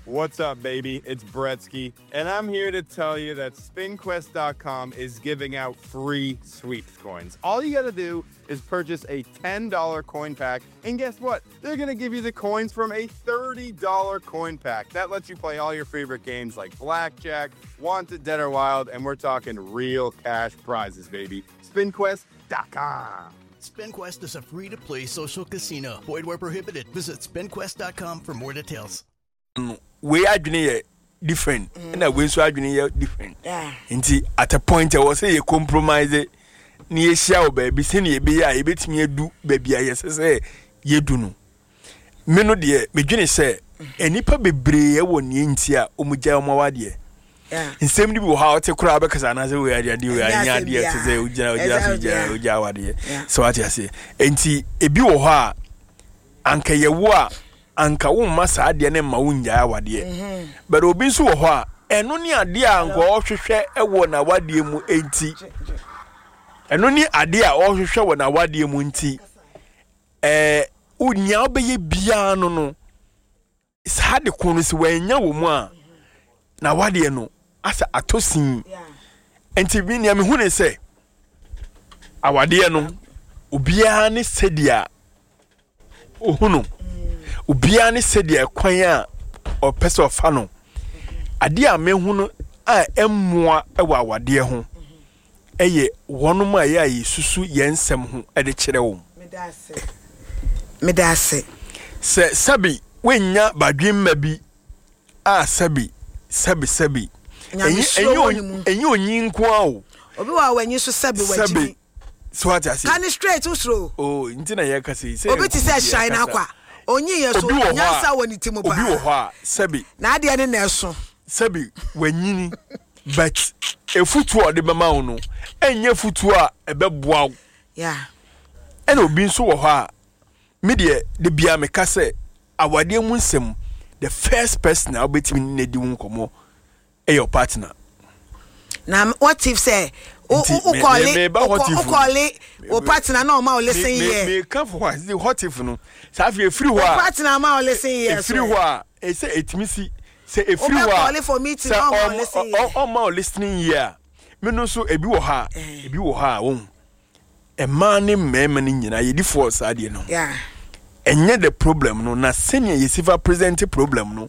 What's up, baby? It's Bretsky, and I'm here to tell you that SpinQuest.com is giving out free sweeps coins. All you gotta do is purchase a $10 coin pack, and guess what? They're gonna give you the coins from a $30 coin pack. That lets you play all your favorite games like Blackjack, Wanted Dead or Wild, and we're talking real cash prizes, baby. SpinQuest.com. SpinQuest is a free to play social casino. Void where prohibited. Visit spinquest.com for more details. No wei adwene yɛ different ɛna wei nso adwene yɛ different nti at a point ɛwɔ sɛ yɛ compromise na yɛhyia wɔ baabi sɛnea yɛbɛyɛ a yɛbɛtumi adu baabi a yɛsɛ sɛ yɛdu no. Me no deɛ medwene sɛ nnipa bebree wɔ nea nti a wɔgyae wɔn awadeɛ. Nsɛm no bi wɔ hɔ a ɔte koraa bɛkasa anaasɛ wei adeɛ adeɛ wei anyɛ adeɛ te sɛ wogyina wogyina so gya wogya awadeɛ sɛ wate aseɛ. Nti ebi wɔ hɔ a anka yɛwo a anka womma saa adeɛ no mma wongyae awadeɛ mhm. But obi nso wɔ hɔ a ɛno ne adeɛ a anka ɔhwehwɛ wɔ n'awadeɛ mu nti, ɛno ne adeɛ a ɔhwehwɛ wɔ n'awadeɛ mu nti, ɛɛ nea wobɛyɛ biara no saa de ko no sɛ wanya wɔ mu a, n'awadeɛ no asɛ atɔ sin. Nti mi nea mehu ne sɛ awadeɛ no, obiara ne sɛdeɛ ohu no, obiara ne sɛdeɛ kwan a ɔpɛ sɛ ɔfa no. Adeɛ a mehu no a ɛmmoa wɔ awadeɛ ho ɛyɛ wɔnom a ɛyɛ a yɛsusu yɛn nsɛm ho de kyerɛ wɔn. Meda ase. Sɛ sɛbi woannya badwemma bi a, sɛbi sɛbi sɛbi, ɛnyɛ onyi nko ara o. Obi wɔ a w'anyi so sɛbi wagyimi. Sɛbi so ate ase. Ka ne straight wosoro. Oh, nti na yɛka sɛ sɛ obi te sɛ shine akwa onyi yɛ so nyansa wɔ ne ti mu paa. Obi wɔ hɔ a sɛbi. N'adeɛ ne na ɛso. Sɛbi wanyini, but efutuo a ɔde bɛma wo no ɛnyɛ futuo a ɛbɛboa wo. Ɛna obi nso wɔ hɔ a, me deɛ de bia meka sɛ awadeɛ mu nsɛm, the first person a wobɛtumi ne no adi wo nkɔmmɔ ɛyɛ wo partner. Na what if sɛ wokɔle wokɔle wo partner na ɔma wo listen ear? Meka fo hɔ a, what if no saa afei efiri hɔ a, wo partner ma wo listen ear so efiri hɔ a ɛsɛ etumi si sɛ efiri hɔ a, sɛ ɔma wo listening ear a, me no nso ebi wɔ hɔ a, ebi wɔ hɔ a wɔn mmaa ne mmarima no nyinaa yɛdi fɔɔ saa deɛ no. Ɛnyɛ the problem no na sɛnea yɛsi fa present problem no.